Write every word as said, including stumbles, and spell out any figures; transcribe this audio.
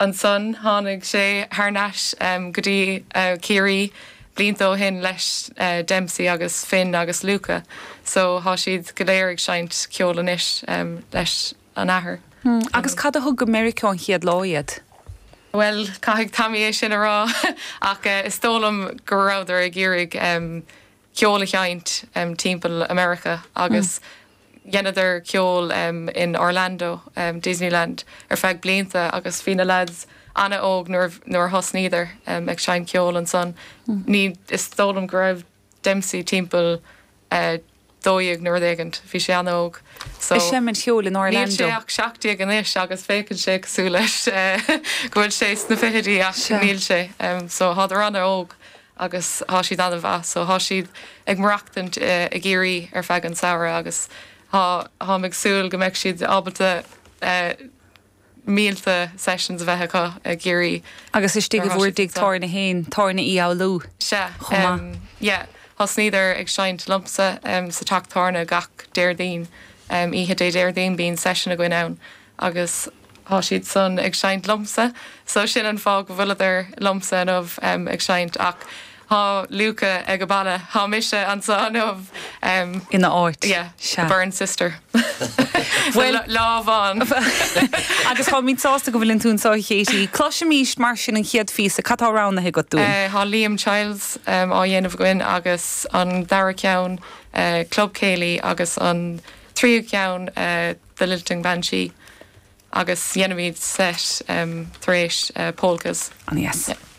Ansan tháinig sé thar n-ais um, go dtí uh, Ciarraí blianta ó shin leis uh, Dempsey agus Finn agus Luca, so tá siad go léir ag seinnt ceol anois um, leis an athair. Hmm. Agus cad a thug go Meiriceá an chéad lá iad? Well caithfidh Tommy é sin a rá ach uh, is dóigh liom go rabhadar ag iarraidh um, ceol a sheinnt um, timpeall America agus mm. dheineadar ceol um, in Orlando um, Disneyland ar feadh blianta agus bhí na lads an-óg nuair nuair thosnaíodar um, ag seinnt ceol ansan. Mm. Ní is dóigh liom go raibh Dempsey timpeall uh, dó dhéag nó rud éigin bhí sé an-óg. So ag seinm ceoil in Níl Orlando. sé ach seacht déag anois agus féachann sé cosúil leis eh, go bhfuil sé sna fichidí ach Sea. níl sé um, so thádar an-óg agus tá siad an-mhaith so tá siad ag maireachtaint uh, i gCiarraí ar feadh an samhradh agus tá tá ag súil go mbeidh siad ábalta uh, mílte sessions a bheith acu i gCiarraí. Agus istigh Nuair i bhur thá siad dtigh tábhairne féin tábhairne Uí Fhoghlú. Se Chomh maith. um, yeah, thosnaíodar ag seinnt liomsa um, sa teach tábhairne gach Déardaoin um, oíche Dé Déardaoin bíonn session againn ann agus tá siad san ag seinnt liomsa, so sin an fáth go bhfuileadar liomsa inniu um, ag seinnt ach tá Luca ag an baile tá mise anseo inniu um, ina áit. yeah, Sea. Burn sister. Well- well lámhán Agus tá mé sásta go bhfuil tú anseo Katie. Cloisimís mar sin an chéad phíosa cad atá roghnaithe agat dúinn. Uh, Tá Liam Childs um, á dhéanamh againn agus an dara ceann uh, Club Céilí agus an tríú ceann uh, The Lilting Banshee agus dhéanfaimid set um, tar éis uh, polkas. An yes. Yeah.